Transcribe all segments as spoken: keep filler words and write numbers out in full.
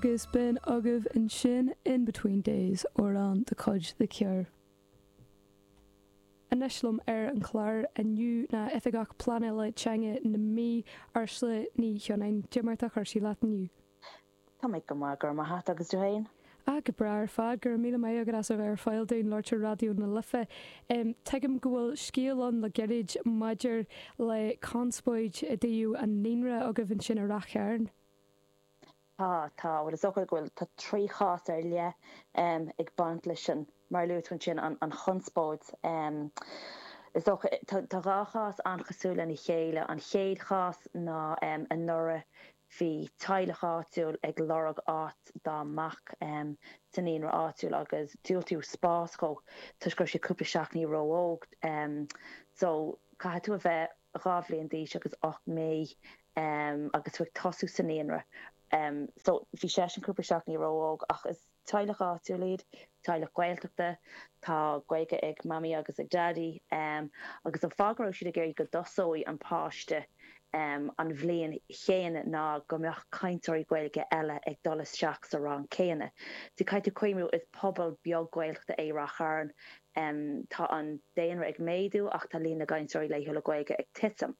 Agus b'in agaibh ansin In Between Days amhrán de chuid The Cure. Anois liom ar an chlár inniu ná Oifigeach Pleanála Teanga na Mí Ursula Ní Chionnáin Cad é mar atá cúrsaí leat inniu. Tá mé go maith go raibh maith agat agus tú féin? A go breá ar fad go raibh míle maith agat as a bheith ar fáil dúinn labhairt ar Raidió na Life. Um, Tuigim go bhfuil scéal ann le gairid maidir le conspóid i dtaobh an naíonra agaibh ansin i Rath Chairn. Tá tá bhfuil is dócha go bhfuil tá trí chás ar leith um, ag baint leis sin mar luaigh sin an, an chonspóid. Um, is dócha tá dhá chás an-chosúil lena chéile an chéad chás ná um, anuraidh bhí teaghlach áitiúil ag lorg áit dá mac um, sa naíonra áitiúil agus diúltaíodh spás dó toisc go raibh sé cúpla seachtain ró-óg um, so caithfidh tú a bheith dhá bhliain d'aois agus ocht mí um, agus tú ag tosú sa naíonra. Um, so bhí sé sin cúpla seachtain ró-óg ach is teaghlach áitiúil iad, teaghlach Gaeltachta, tá Gaeilge ag mamaí agus ag daidí um, agus an fáth go raibh siad ag iarraidh go dtosódh an páiste um, an bhliain chéanna ná go mbeadh cainteoirí Gaeilge eile ag dul isteach sa rang céanna. So caithfidh tú cuimhneamh is pobal beag Gaeltachta é Rath Chairn um, tá an daonra ag méadú ach tá líon na gcainteoirí laethúla Gaeilge ag titim.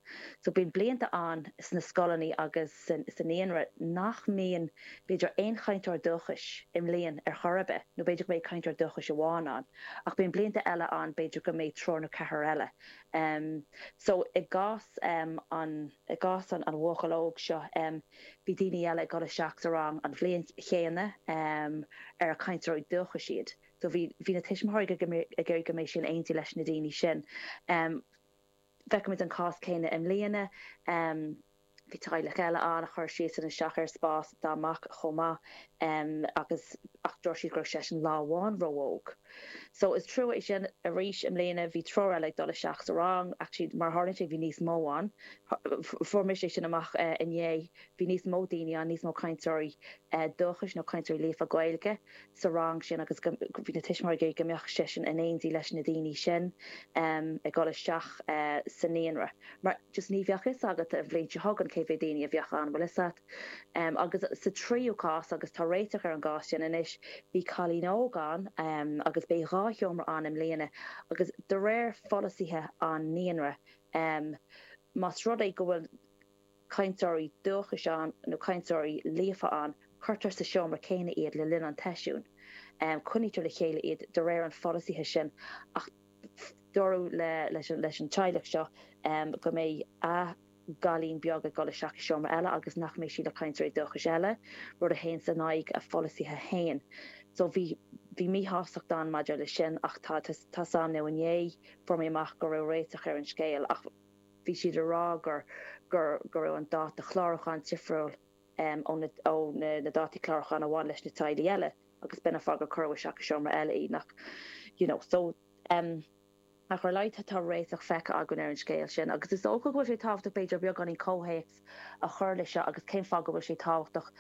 So bíonn blianta ann sna scoileanna agus sa naíonra nach mbíonn b'fhéidir aon chainteoir dúchais i mbliain ar chor ar bith, nó b'fhéidir go mbeidh cainteoir dúchais amháin ann, ach bíonn blianta eile ann b'fhéidir go mbeidh triúr nó ceathrar eile. Um, so i gcás um, an i gcás an, an bhuachaill óg seo um, bhí daoine eile ag dul isteach sa rang an bhliain chéanna um, ar cainteoirí dúchais iad. So bhí bhí na tuismitheoirí ag iarraidh go mbeadh sé in éindí leis na daoine sin. Um, Feicimid an cás céanna i mbliana um, bhí teaghlach eile ann a chuir síos isteach ar spás dá mac chomh maith um, agus ach dúirt siad go raibh seisean lá amháin ró-óg. So is trua é sin arís i mbliana bhí triúr eile ag dul isteach sa rang actually mar tharla sé bhí níos mó ann. Fuair mise sin amach uh, inné bhí níos mó daoine ann níos mó cainteoirí uh, dúchais nó cainteoirí líofa Gaeilge sa rang sin agus bhí na tuismitheoirí go mbeadh seisean in éindí leis na daoine sin um, ag dul isteach uh, sa naíonra. Mar just ní bheadh fhios agat an bhliain seo chugainn cé mhéad daoine a bheadh ann bhfuil fhios agat. Um, agus sa tríú cás agus tá réiteach ar an gcás sin anois bhí cailín óg ann um, agus beidh dhá sheomra ann i mbliana agus de réir pholasaithe an naíonra um, más rud é go bhfuil cainteoirí dúchais ann nó cainteoirí líofa ann cuirtear sa seomra céanna iad le linn an tseisiúin. Um, Coinnítear le chéile iad de réir an pholasaithe sin ach dúradh le leis an leis an teaghlach seo um, go mbeidh a gcailín beag ag dul isteach i seomra eile agus nach mbeidh sí le cainteoirí dúchais eile, rud a théann in aghaidh a pholasaithe féin. So bhí bhí míshástacht ann maidir le sin ach tá tá sam nó inné fuair mé amach go raibh réiteach ar an scéal ach bhí siad ag rá gur gur go raibh an dáta clárúcháin difriúil um, ó na, ó na, na dátaí clárúcháin a bhain leis na teaghlaigh eile agus b'in an fáth gur cuireadh isteach i seomra eile í nach you know, so um, ach ar leith tá réiteach feicthe againn ar an scéal sin, agus is dócha go bhfuil sé tábhachtach b'fhéidir beagáinín comhthéacs a chur leis seo agus cén fáth go bhfuil sé tábhachtach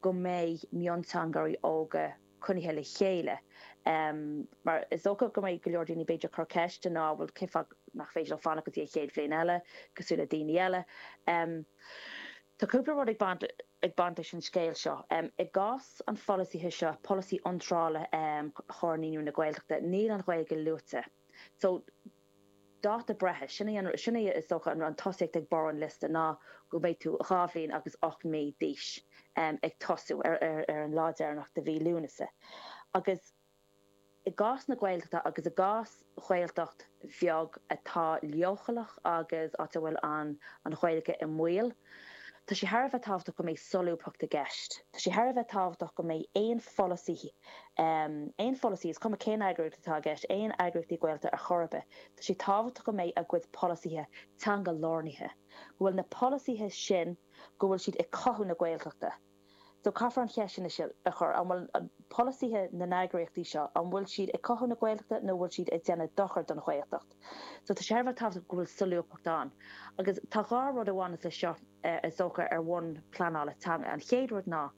go mbeidh mionteangairí óga coinnithe le chéile. Um, mar is dócha go mbeidh go leor daoine b'fhéidir cur ceiste ná bhfuil cén fáth nach féidir leo fanacht go dtí an chéad bhliain eile cosúil le daoine eile. Um, Tá cúpla rud ag baint ag baint leis an scéal seo. Um, I gcás an pholasaithe seo polasaí iontrála um, Chomhar Naíonraí na Gaeltachta, níl an Ghaeilge luaite. So dáta breithe sin é sin é is dócha an an tosaíocht ag barr an liosta ná go mbeidh tú dhá bhliain agus ocht mí d'aois um, ag tosú ar, ar, ar an lá deireanach de mhí Lúnasa. Agus i gcás na Gaeltachta agus i gcás Ghaeltacht bheag atá leochaileach agus áit a bhfuil an an Ghaeilge i mbaol, Tá sé thar a bheith tábhachtach go mbeidh solúbthacht i gceist. Tá sé thar a bheith tábhachtach go mbeidh aon pholasaí um, aon pholasaí is cuma cén eagraíocht atá i gceist, aon eagraíochtaí Gaeltachta ar chor ar bith. Tá sé tábhachtach go mbeidh a gcuid polasaithe teanga lárnaithe. Go bhfuil na polasaithe sin go bhfuil siad ag cothú na Gaeltachta. So caithfear an cheist sin a chur an bhfuil polasaithe na n-eagraíochtaí seo an bhfuil siad ag cothú na Gaeltachta nó bhfuil siad ag déanamh dochar don Ghaeltacht. So tá sé thar a bheith tábhachtach go bhfuil solúbthacht ann. Agus tá dhá rud a bhaineann leis seo is dócha ar bhonn pleanála teanga. An chéad rud ná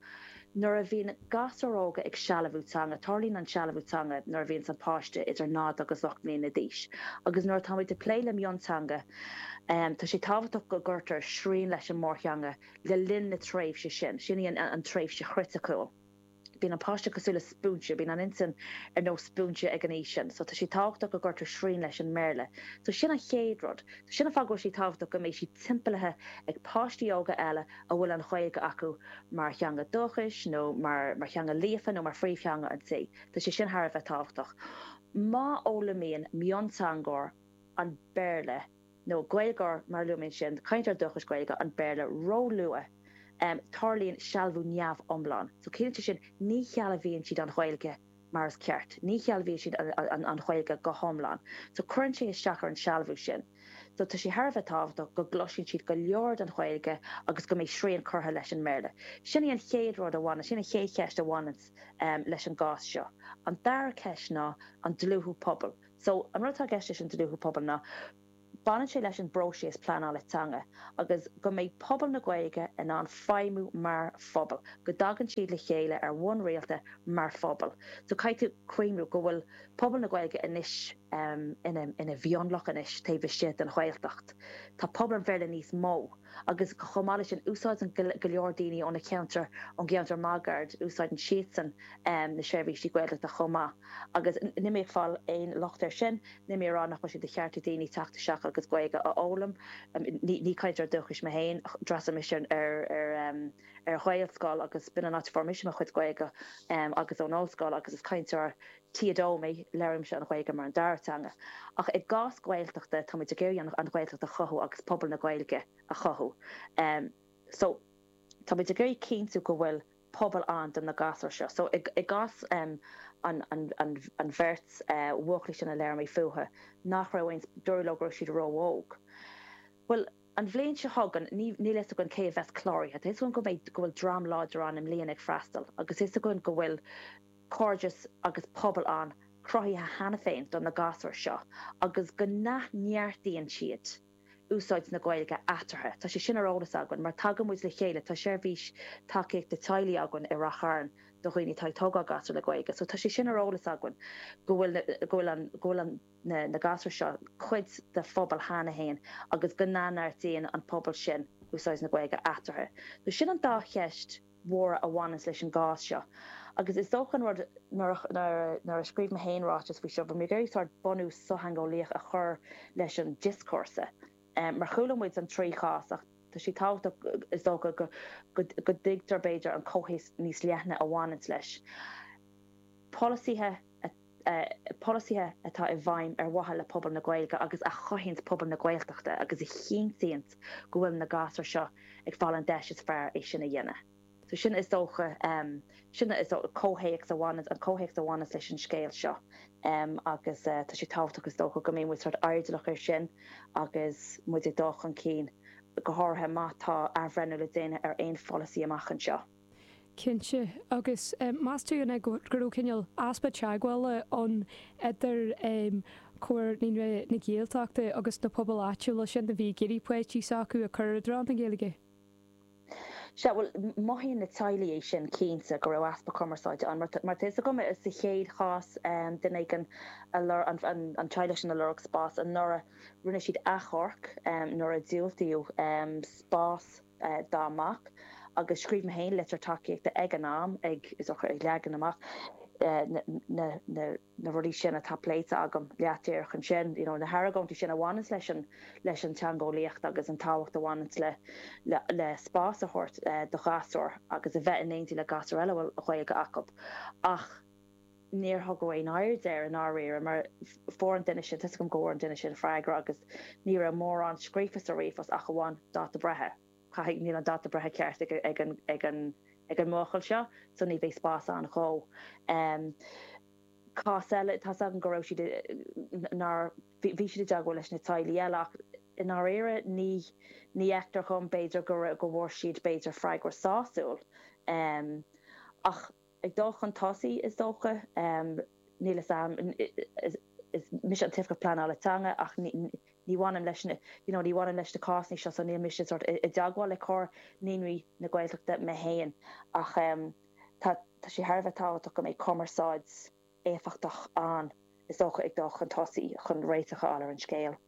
nuair a bhíonn gasúir óga ag sealbhú teanga, tarlaíonn an sealbhú teanga nuair a bhíonn an páiste idir náid agus ocht mbliana d'aois. Agus nuair atáimid ag plé le mionteanga, um, tá sé tábhachtach go gcuirtear srian leis an mórtheanga le linn na tréimhse sin, sin í an, an tréimhse chriticiúil. Bíonn an páiste cosúil le spúinse, bíonn an intinn ar nós spúinse ag an aois sin, so tá sé tábhachtach go gcuirtear srian leis an mBéarla. So sin an chéad rud. So sin an fáth go bhfuil sé tábhachtach go mbeidh siad timpeallaithe ag páistí óga eile a bhfuil an Ghaeilge acu mar theanga dúchais nó mar mar theanga líofa nó mar phríomhtheanga an tí. Tá sé sin thar a bheith tábhachtach. Má fhoghlaimíonn mionteangóir an Béarla nó Gaeilgeoir mar luaigh mé ansin, cainteoir dúchais Gaeilge, an Béarla róluath, tarlaíonn sealbhú neamhiomlán. So ciallaíonn sé sin ní shealbhaíonn siad an Ghaeilge mar is ceart, ní shealbhaíonn siad an Ghaeilge go hiomlán. So cuireann sé isteach ar an sealbhú sin. So tá sé thar a bheith tábhachtach go gcloiseann siad go leor den Ghaeilge agus go mbeidh srian curtha leis an mBéarla. Sin í an chéad rud a bhaineann, sin an chéad cheist a bhaineann leis an gcás seo. An dara ceist ná an dlúthú pobail. So an rud atá i gceist leis an dlúthú pobail ná baineann sé leis an bpróiseas pleanála teanga agus go mbeidh pobal na Gaeilge in ann feidhmiú mar phobal, go dtagann siad le chéile ar bhonn rialta mar phobal. So caithfidh tú cuimhniú go bhfuil pobal na Gaeilge anois ina ina mhionlach anois taobh istigh den Ghaeltacht. Tá pobal an Bhéarla níos mó agus chomh maith leis sin úsáideann go leor daoine ó na ceantair, ón gceantar máguaird, úsáideann siadsan na seirbhísí Gaeltachta chomh maith. Agus níl mé ag fáil aon locht air sin, níl mé ag rá nach bhfuil sé de cheart ag daoine teacht isteach agus Gaeilge a fhoghlaim. Ní cainteoir dúchais mé féin, d'fhreastail mise ar ar Ghaelscoil agus b'in an áit a fuair mise mo chuid Gaeilge agus ón ollscoil agus is cainteoir T a dó mé, labhraímse an Ghaeilge mar an dara teanga. Ach i gcás Gaeltachta, tá muid ag iarraidh an Ghaeltacht a chothú agus pobal na Gaeilge a chothú. So tá muid ag iarraidh cinntiú go bhfuil pobal ann do na gasúir seo. So i gcás an an bheirt bhuachaillí sin a labhair mé fúthu, nach raibh aon, dúradh leo go raibh siad ró-óg. Bhuel, an bhliain seo chugainn, níl a fhios againn cé a bheas cláraithe. Tá a fhios againn go mbeidh, go bhfuil dream láidir ann i mbliana ag freastal agus tá a fhios againn go bhfuil cairdeas agus pobal ann cruthaithe cheana féin do na gasúir seo agus go n-athneartaíonn siad úsáid na Gaeilge eatarthu. Tá sé sin ar eolas againn mar tagann muid le chéile, tá seirbhís tacaíochta teaghlaigh againn i Rath Chairn do dhaoine atá ag tógáil gasúr le Gaeilge. So tá sé sin ar eolas againn go bhfuil go bhfuil an go bhfuil an na na gasúir seo cuid de phobal cheana féin agus go n-athneartaíonn an pobal sin úsáid na Gaeilge eatarthu. So sin an dá cheist mhóra a bhaineanns leis an gcás seo. Agus is dócha an rud nuair nuair a scríobh mé féin ráiteas faoi seo, bhí mé ag iarraidh sórt bunús sochtheangeolaíoch a chur leis an dioscúrsa. Mar chuala muid an trí chás ach tá sé tábhachtach is dócha go go dtuigtear b'fhéidir an comhthéacs níos leithne a bhaineanns leis. Polasaithe polasaithe atá i bhfeidhm ar mhaithe le pobal na Gaeilge agus a chothaíonns pobal na Gaeltachta agus a chinntíonns go bhfuil na gasúir seo ag fáil an deis is fearr é sin a dhéanamh. So sin is dócha sin is dócha comhthéacs a bhaineanns an comhthéacs a bhaineanns leis an scéal seo agus tá sé tábhachtach is dócha go mbeidh muid sórt airdeallach air sin agus muid ag dul chun cinn, go háirithe má tá athbhreithniú le déanamh ar aon pholasaí amach anseo. Cinnte. Agus meas tú an é go raibh cineál easpa teagmhála ann idir Comhar Naíonraí na Gaeltachta agus na pobail áitiúla sin a bhí ag iarraidh páistí s'acu a chur i dtreo na Gaeilge? Sea, bhuel, mothaíonn na teaghlaigh é sin cinnte, go raibh easpa cumarsáide ann. Mar tá fhios agam, sa chéad chás, duine éigin a lorg, an teaghlach sin a lorg spás anuraidh, rinne siad achomharc nuair a diúltaíodh spás dá mac agus scríobh mé féin litir tacaíochta ag an am ag, is dócha, ag leagan amach na, na, na, na rudaí sin atá pléite agam leat díreach ansin, you know, na hargóintí sin a bhaineanns leis an, leis an teangeolaíocht agus an tábhacht a bhaineanns le, le, le spás a thabhairt do ghasúir agus a bheith in éindí le gasúir eile a bhfuil Gaeilge acu. Ach níor thugadh aon aird air i ndáiríre mar fuair an duine sin, tá 'fhios agam go bhfuair an duine sin freagra agus ní raibh mórán scríofa sa ríomhphost ach amháin dáta breithe. Caithfidh, níl an dáta breithe ceart ag, ag an, ag an, ag an mbuachaill seo so ní bheidh spás ann dhó. Cás eile, tá's agam go raibh siad, nár, bhí siad i dteagmháil leis na teaghlaigh eile ach i ndáiríre ní, ní fheictear dhom b'fhéidir go raibh, go bhfuair siad b'fhéidir freagra sásúil. Ach ag dul chun tosaigh is dócha, níl 'fhios a'm, is mise an tOifigeach Pleanála Teanga ach ní, ní bhainim leis na, you know, ní bhainim leis na cásanna seo so níl mise sort i dteagmháil le Comhar Naíonraí na Gaeltachta mé féin ach tá tá sé thar a bheith tábhachtach go mbeidh cumarsáid éifeachtach ann is dócha ag dul chun tosaigh chun réiteach a fháil ar an scéal.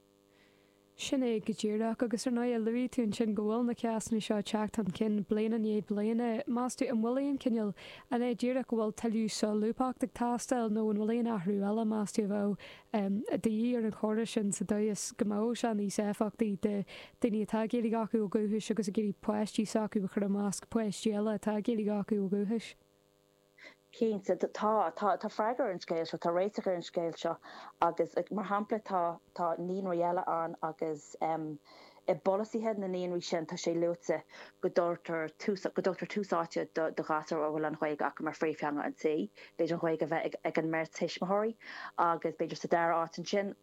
Sin é go díreach agus ar ndóigh luaigh tú ansin go bhfuil na cásanna seo ag teacht chun cinn bliain i ndiaidh bliana. Meas tú an bhfuil aon cineál, an é díreach go bhfuil tuilleadh solúbthacht ag teastáil nó an bhfuil aon athrú eile meas tú a bheadh de dhíth ar an chóras sin sa dóigh is go mbeadh sé níos éifeachtaí do daoine atá Gaeilge acu ó dhúchas agus ag iarraidh páistí s'acu a chur i measc páistí eile atá Gaeilge acu ó dhúchas? Cinnte, tá, tá, tá freagra ar an scéal seo, tá réiteach ar an scéal seo agus mar shampla tá, tá naíonraí eile ann agus um, i bpolasaithe na naíonraí sin tá sé luaite go dtugtar tús, go dtugtar tús áite do, do ghasúir a bhfuil an Ghaeilge acu mar phríomhtheanga an tí, b'fhéidir an Ghaeilge a bheith ag, ag an mbeirt tuismitheoirí agus b'fhéidir sa dara áit ansin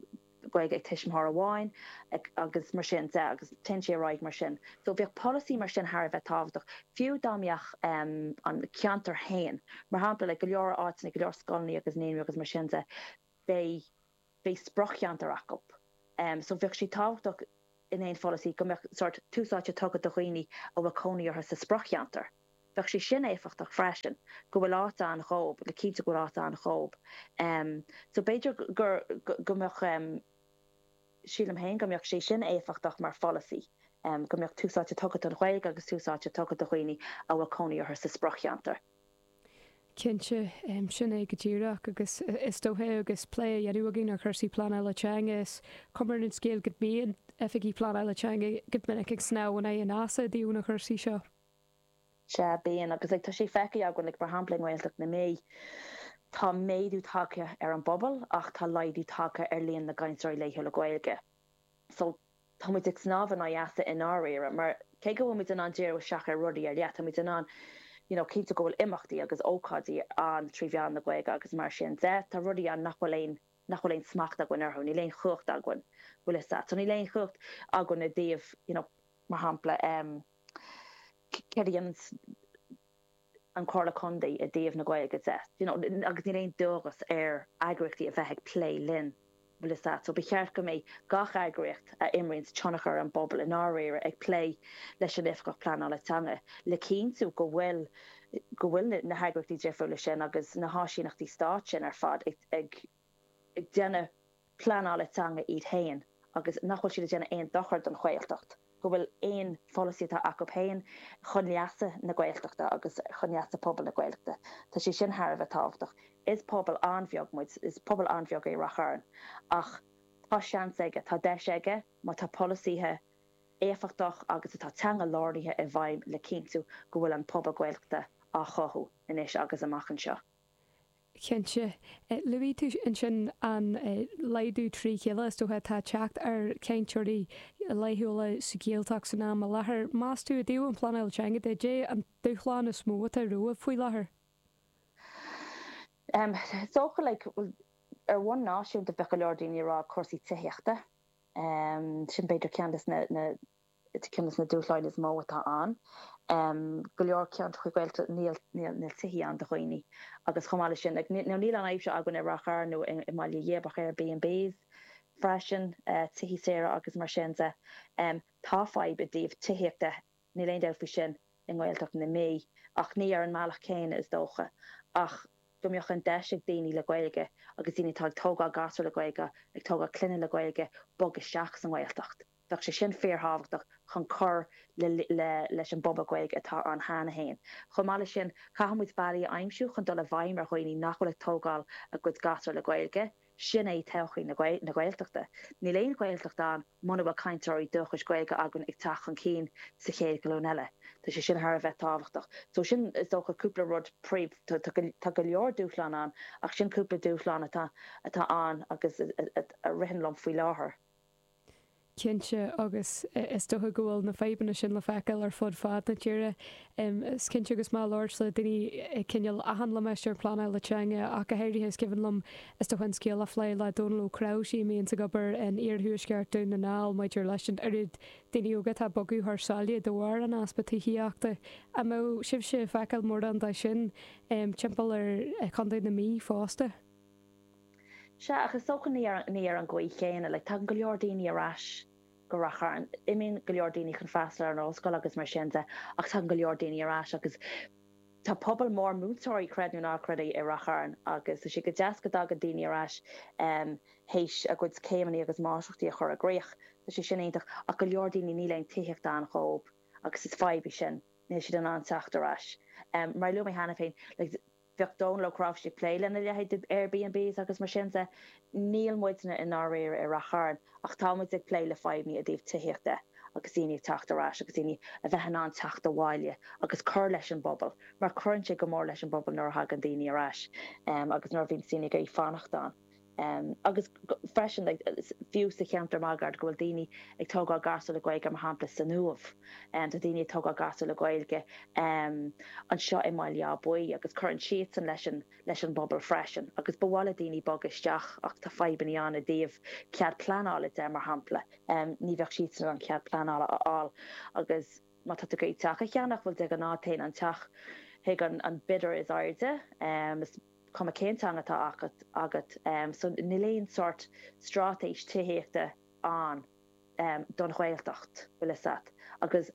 Gaeilge ag tuismitheoir amháin agus mar sin de agus téann sé ar aghaidh mar sin. So bheadh polasaí mar sin thar a bheith tábhachtach, fiú dá mbeadh an ceantar féin, mar shampla le go leor áiteanna, go leor scoileanna agus naíonraí agus mar sin de, beidh beidh sprioc-cheantar acu. So bheadh sé tábhachtach in aon pholasaí go mbeadh sórt tús áite tugtha do dhaoine a bhfuil cónaí orthu sa sprioc-cheantar. Bheadh sé sin éifeachtach freisin, go bhfuil áit ann dhóibh, le cinntiú go bhfuil áit ann dhóibh. So b'fhéidir gur, go mbeadh, sílim féin go mbeadh sé sin éifeachtach mar pholasaí, go mbeadh tús áite tugtha don Ghaeilge agus tús áite tugtha do dhaoine a bhfuil cónaí orthu sa sprioc-cheantar. Cinnte, sin é go díreach agus is dócha agus plé á dhéanamh againn ar chúrsaí pleanála teanga, is cuma ar an scéal go mbíonn oifigigh pleanála teanga go minic ag snámh in aghaidh an easa i dtaobh na cúrsaí seo. Sea, bíonn, agus like tá sé feicthe againn, like mar shampla i nGaeltacht na Mí, tá méadú tagtha ar an bpobal ach tá laghdú tagtha ar líon na gcainteoirí laethúla Gaeilge. So tá muid ag snámh in aghaidh easa i ndáiríre, mar cé go bhfuil muid in ann díriú isteach ar rudaí ar leith, tá muid in ann you know cinntiú go bhfuil imeachtaí agus ócáidí ann trí mheán na Gaeilge agus mar sin de, tá rudaí ann nach bhfuil aon nach bhfuil aon smacht againn orthu, níl aon chumhacht againn, bhfuil fhios a't. So níl aon chumhacht againn i dtaobh you know mar shampla em céard a dhéanann an Chomhairle Contae i dtaobh na Gaeilge de, you know, agus níl aon dualgas ar eagraíochtaí a bheith ag plé linn, bhfuil fhios a't. So ba cheart go mbeidh gach eagraíocht a imríonns tionchar ar an bpobal i ndáiríre ag plé leis an Oifigeach Pleanála Teanga le cinntiú go bhfuil go bhfuil na heagraíochtaí difriúla sin agus na háisíneachtaí stáit sin ar fad ag ag ag déanamh pleanála teanga iad féin agus nach bhfuil siad ag déanamh aon dochar don Ghaeltacht, go bhfuil aon pholasaí atá acu féin chun leasa na Gaeltachta agus chun leasa pobal na Gaeltachta. Tá sé sin thar a bheith tábhachtach. Is pobal an-bheag muid, is pobal an-bheag é Rath Chairn ach tá seans aige, tá deis aige má tá polasaithe éifeachtach agus atá teanga-lárnaithe i bhfeidhm le cinntiú go bhfuil an pobal Gaeltachta á chothú anois agus amach anseo. Cinnte. Luaigh tú ansin an laghdú trí chéile is dócha atá ag teacht ar chainteoirí laethúla sa Ghaeltacht san am i láthair. Meas tú i dtaobh an phleanáil teanga de, cad é an dúshlán is mó atá romhaibh faoi láthair? Is dócha like ar bhonn náisiúnta bheadh go leor daoine ag rá cúrsaí tithíochta. Sin b'fhéidir ceann de na ceann de na dúshláin is mó atá ann. Go leor ceantracha Gaeltachta níl níl tithí ann do dhaoine agus chomh maith leis sin, nó níl an fhadhb seo againn i Rath Chairn nó i mBaile Ghib ach Airbnbs freisin, tithí saora agus mar sin de. Tá fadhb i dtaobh tithíochta, níl aon dabht faoi sin, i nGaeltacht na Mí ach ní ar an mbealach céanna is dócha. Ach go mbeadh an deis ag daoine le Gaeilge agus daoine atá ag tógáil gasúr le Gaeilge, ag tógáil clainne le Gaeilge, bog isteach sa nGaeltacht. Bheadh sé sin fíorthábhachtach chun cur le leis an bpobal Gaeilge atá ann cheana féin. Chomh maith leis sin, caithfidh muid bealaí a aimsiú chun dul i bhfeidhm ar dhaoine nach bhfuil ag tógáil a gcuid gasúr le Gaeilge. Sin é todhchaí na Gaeltachta. Níl aon Ghaeltacht ann muna bhfuil cainteoirí dúchais Gaeilge againn ag teacht chun cinn sa chéad ghlúin eile. Tá sé sin thar a bheith tábhachtach. So sin is dócha cúpla rud príomh, tá go leor dúshlán ann ach sin cúpla dúshlán atá atá ann agus a ritheann liom faoi láthair. Cinnte, agus is dócha go bhfuil na fadhbanna sin le feiceáil ar fud fad na tíre. Is cinnte agus mé ag labhairt le daoine i cineál achan limistéar pleanála teanga ach go háirithe is cuimhin liom is dócha an scéal a phlé le Dónal Ó Cnáimhsí a mbíonns ag obair in iarthuaisceart Dún na nGall maidir leis an oiread daoine óga atá ag bogadh thar sáile de bharr an easpa tithíochta. An mbeadh sibhse ag feiceáil mórán de sin timpeall ar Chontae na Mí fosta? Sea, ach is dócha ní ar ní ar an gcaoi chéanna. Like, tagann go leor daoine ar ais go Rath Chairn. Imíonn go leor daoine chun freastal ar an ollscoil agus mar sin de, ach tagann go leor daoine ar ais agus Tá pobal mór múinteoirí, creid nó ná creid é, i Rath Chairn agus tá sé go deas go dtagann daoine ar ais théis a gcuid céimeanna agus máistreachtaí a chur i gcrích. Tá sé sin iontach ach go leor daoine níl aon tithíocht ann dhóibh agus is fadhb í sin, níl siad in ann teacht ar ais. Mar a luaigh mé cheana féin, like, bheadh Dónal Ó Cnáimhsí ag plé lena leithéid de Airbnbs agus mar sin de, níl muidne i ndáiríre i Rath Chairn ach tá muid ag plé le fadhbanna i dtaobh tithíochta agus daoine ag teacht ar ais agus daoine a bheith in ann teacht abhaile agus cur leis an bpobal mar cuireann sé go mór leis an bpobal nuair a thagann daoine ar ais agus nuair a bhíonn daoine ag iarraidh fanacht ann. Agus freisin like fiú sa cheantar máguaird go bhfuil daoine ag tógáil gasúir le Gaeilge mar shampla san Uaimh. Tá daoine ag tógáil gasúir le Gaeilge anseo i mBaile Átha Buí agus cuireann siadsan leis an leis an bpobal freisin agus ba mhaith le daoine bogadh isteach ach tá fadhbanna ann i dtaobh cead pleanála de mar shampla. Ní bheadh siadsan in ann cead pleanála a fháil agus má tá tú ag iarraidh teach a cheannach bhuel de ghnáth téann an teach chuig an an bidder is airde. Is cuma cén teanga atá agat agat so níl aon sórt straitéis tithíochta ann don Ghaeltacht, bhfuil fhios a't. Agus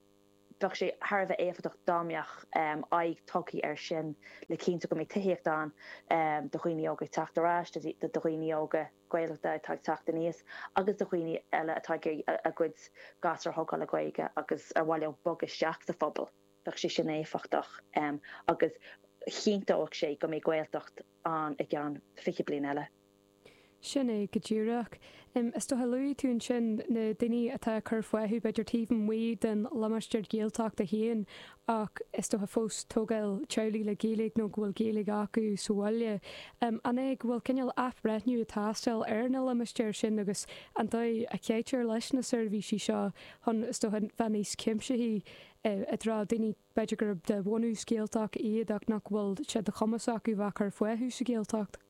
bheadh sé thar a bheith éifeachtach dá mbeadh aghaidh tugtha air sin le cinntiú go mbeidh tithíocht ann do dhaoine óga ag teacht ar ais, do dhaoine óga Gaeltachta atá ag teacht aníos agus do dhaoine eile atá ag iarraidh a gcuid gasúr a thógáil le Gaeilge agus ar mhaith leo bogadh isteach sa phobal. Bheadh sé sin éifeachtach agus chinnteodh sé go mbeidh Gaeltacht ann i gceann fiche bliain eile. Sin é go díreach. Is dócha, luaigh tú ansin na daoine atá ag cur fúthu b'fhéidir taobh amuigh den limistéar Gaeltachta féin ach is dócha fós tógáil teaghlaigh le Gaeilge nó go bhfuil Gaeilge acu sa bhaile. An é go bhfuil cineál athbhreithniú ag teastáil ar na limistéir sin agus an dóigh a chaitear leis na seirbhísí seo chun is dócha bheith níos cuimsithí i dtreo daoine b'fhéidir gurb de bhunús Gaeltach iad ach nach bhfuil sé de chumas acu bheith ag cur fúthu sa Ghaeltacht.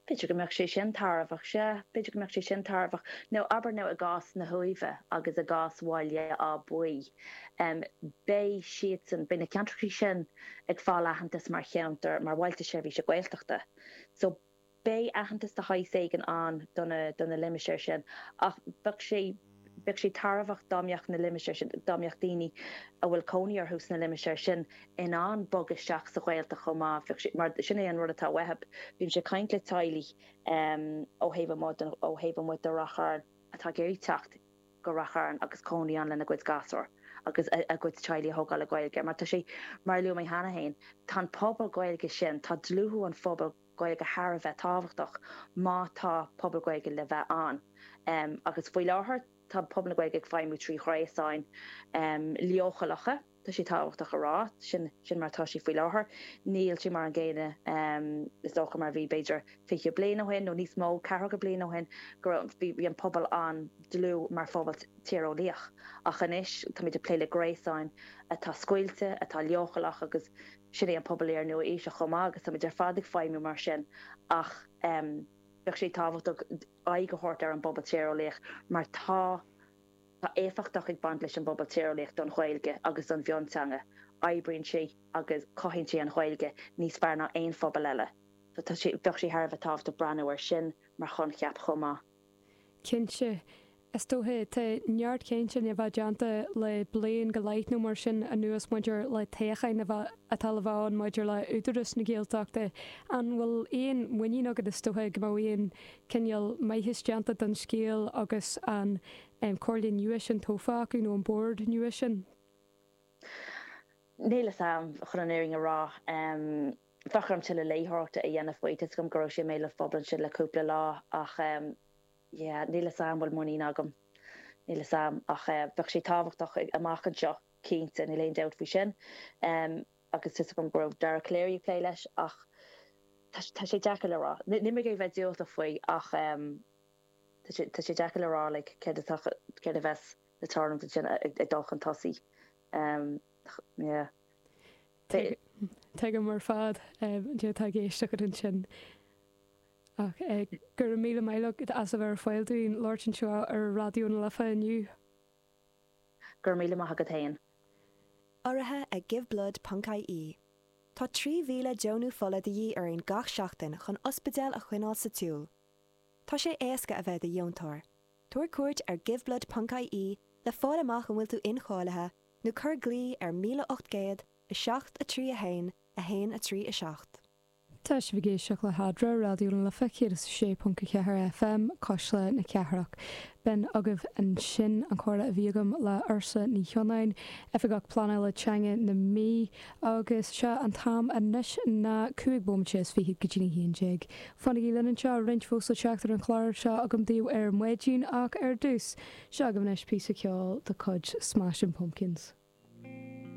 B'fhéidir go mbeadh sé sin tairbheach, sea, b'fhéidir go mbeadh sé sin tairbheach. Nó abair nó i gcás na hUaimhe agus i gcás Bhaile Átha Buí, beidh siadsan, beidh na ceantracha sin ag fáil aitheantas mar cheantar, mar bhailte seirbhíse Gaeltachta. So beidh aitheantas de shaghas éigin ann do na, do na limistéir sin ach bheadh sé, bheadh sé tairbheach dá mbeadh na limistéir sin, dá mbeadh daoine a bhfuil cónaí orthu sna limistéir sin in ann bogadh isteach sa Ghaeltacht chomh maith, bheadh sé, mar sin é an rud atá uathu. Bímse ag caint le teaghlaigh ó thaobh amuigh den, ó thaobh amuigh de Rath Chairn atá ag iarraidh teacht go Rath Chairn agus cónaí ann lena gcuid gasúr agus a gcuid teaghlaigh a thógáil le Gaeilge mar tá sé, mar a luaigh mé cheana féin, tá an pobal Gaeilge sin, tá dlúthú an phobail Gaeilge thar a bheith tábhachtach má tá pobal Gaeilge le bheith ann. Agus faoi láthair tá pobal na Gaeilge ag feidhmiú trí ghréasáin leochaileacha, tá sé tábhachtach a rá, sin sin mar atá sé faoi láthair. Níl sé mar an gcéanna is dócha mar a bhí b'fhéidir fiche bliain ó shin nó níos mó, ceathracha bliain ó shin, go raibh bhí an pobal an-dlúth mar phobal tíreolaíoch. Ach anois táimid ag plé le gréasáin atá scoilte, atá leochaileach agus sin é an pobal iar-nua-aoiseach chomh maith agus táimid ar fad ag feidhmiú mar sin ach bheadh sé tábhachtach aghaidh a thabhairt ar an bpobal tíreolaíoch mar tá tá éifeachtacht ag baint leis an bpobal tíreolaíoch don Ghaeilge agus don mhionteanga. Oibríonn sé agus cothaíonn sé an Ghaeilge níos fearr ná aon phobal eile. So tá sé bheadh sé thar a bheith tábhachtach breathnú air sin mar choincheap chomh maith. Cinnte. Is dócha, tá neart cainte a bheith déanta le bliain go leith nó mar sin anuas maidir le toghcháin a bheith, atá le bheith ann maidir le Údarás na Gaeltachta. An bhfuil aon mhuinín agat is dócha go mbeadh aon cineál maitheas déanta don scéal agus an comhairle nua sin tofa acu nó an bord nua sin? Níl fhios a'm, chun an fhírinne a rá. Bheadh orm tuilleadh léitheoireachta a dhéanamh faoi. Tá 'fhios agam go raibh sé i mbéal an phobail ansin le cúpla lá ach yeah, níl fhios a'm bhfuil muinín agam. Níl fhios a'm ach bheadh sé tábhachtach amach anseo, cinnte, níl aon dabht faoi sin. Agus tá 'fhios agam go raibh Dara Calleary ag plé leis ach tá sé deacair le rá. Níl mé ag iarraidh bheith diúltach faoi ach tá sé tá sé deacair le rá like céard atá céard a bheas le tarlúint ansin ag dul chun tosaigh. Yeah. Tuigim ar fad cad atá i gceist agat ansin. Ach go raibh míle maith agat as a bheith ar fáil dúinn labhairt anseo ar Raidió na Life inniu. Go raibh míle maith agat féin. Urraithe ag Giveblood ponc ie. Tá trí mhíle deonú fola de dhíth orainn gach seachtain chun ospidéil a choinneáil sa tsiúl. Tá sé éasca a bheith i do dheontóir. Tabhair cuairt ar Giveblood ponc ie le fáil amach an bhfuil tú incháilithe nó cuir glao ar míle ocht gcéad a seacht a trí a haon a haon a trí a seacht. Tá sibh ag éisteacht le hEadra, Raidió na Life céad is a sé ponc a ceathair FM, Cuisle na Cathrach. B'in agaibh ansin an comhrá a bhí agam le Ursula Ní Chionáin, Oifigeach Pleanála Teanga na Mí, agus sé an t-am anois ná cúig bomaite is fiche go dtí a haon déag. Fanaigí linn anseo, roinnt fós le teacht ar an chlár seo agam daoibh ar maidin ach ar dtús, seo agaibh anois píosa ceoil de chuid Smashing Pumpkins.